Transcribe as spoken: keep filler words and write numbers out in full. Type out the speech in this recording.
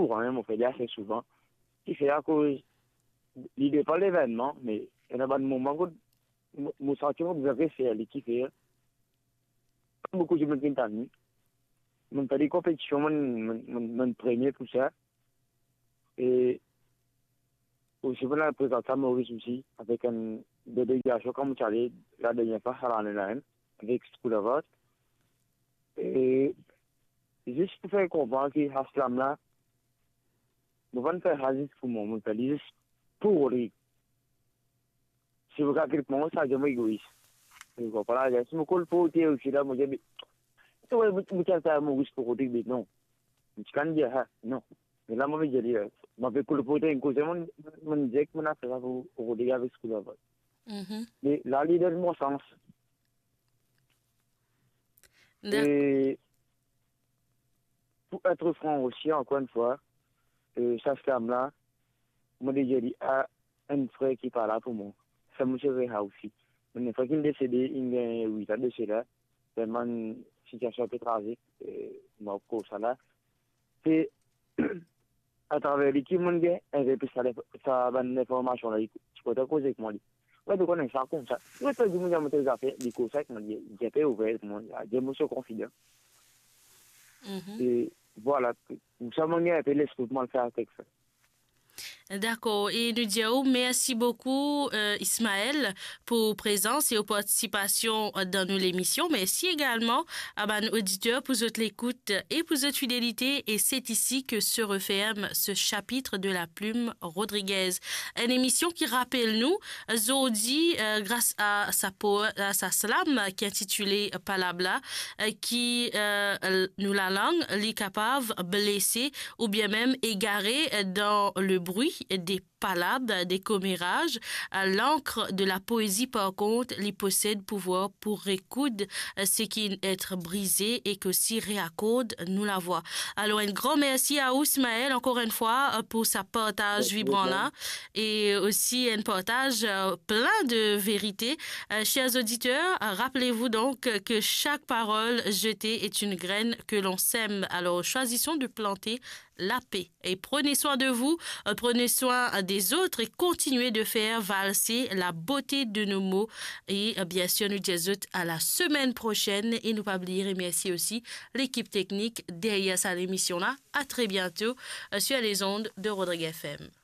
kouran, mo fer li ase souvan. Kifer? Akoz li depann levennman, me ena bann moman kot mo, mo santi mo bizin refer li, kifer boukou dimoun finn tann li. Monn fer de konpetision, monn, monn, monn, monn premie pou sa. E osi, monn al prezant sa Moris osi, avek enn delegasion, kan mo ti ale ladernie fwa, sa lane la, enn, avek School of Art. E zis pou fer konpran ki sa slam la, mo pa'nn fer sa zis pou mwa, mo fer li zis pou Rodrig. Si mo kalkil pou mwa, sa dir mo egois. Ou konpran la, si mo kolporte osi la, mo dir, be, to, mo, mo ti al fer Moris pou Rodrig, be non. Mo ti kapav dir sa, non. Me la, mo pe dir li, eh, mo pe kolporte enn koze, monn, monn dir ki monn al fer sa pou Rodrig avek School of Art. Mhm. Me la, li donn mwa sans. Dak- E pou être franc osi, ankor enn fwa, eh, sa slam la, mo dir li a enn frer ki pa la pou mwa. Sa mo ti refer osi. Mo enn frer ki desede, inn gagn wit an de sela, telman sitiasion pe trazik, eh, mo koz sa la. Se atraver li ki monn gagn enn pe sa, sa bann linformasion la, li ti kontan koze ek mwa li. Wi, to konn sa koumsa. Wi, to dir mwa, mo dir to zafer, li koz sa ek mwa, li, li pe ouver ek mwa, li dir mo so konfidan. Mhm. E vwala, koumsa monn gagn enn pe lespri pou mwa fer avek sa. Dakor, e nou dir ou mersi boukou, eh, Ismaël, pou prezans e ou partisipasion dan nou lemision. Mersi egalman a bann oditer pou zot lekout e pou zot fidelite, e c'est ici que se referme ce chapitre de La Plume Rodriguez. Enn emision ki rapel nou, zordi, eh, gras a sa po-, a sa slam ki intitile Palab la, eh, ki, eh, l-, nou lalang, li kapav blese oubien mem egare, eh, dan le bri de palab, de komeraz. Eh, lankr de la poezi, par kont, li posed pouvwar pou rekoud, eh, seki inn et brize ek osi reakord nou lavwa. Alor, enn gran mersi a ou, Ismaël, ankor enn fwa, eh, pou sa partaz vibran la, e osi enn partaz, eh, plin de verite. Eh, chers auditeurs, rappelez-vous donc que chaque parole jetée est une graine que l'on sème. Alors, choisissons de planter la paix. Et prenez soin de vous, euh, prenez soin des autres et continuez de faire valser la beauté de nos mots. Et, euh, bien sûr, nou dir zot à la semaine prochaine. E nou pa bliye remersie osi lekip teknik deryer sa lemision la. À très bientôt, euh, sur les ondes de Rodriguez F M.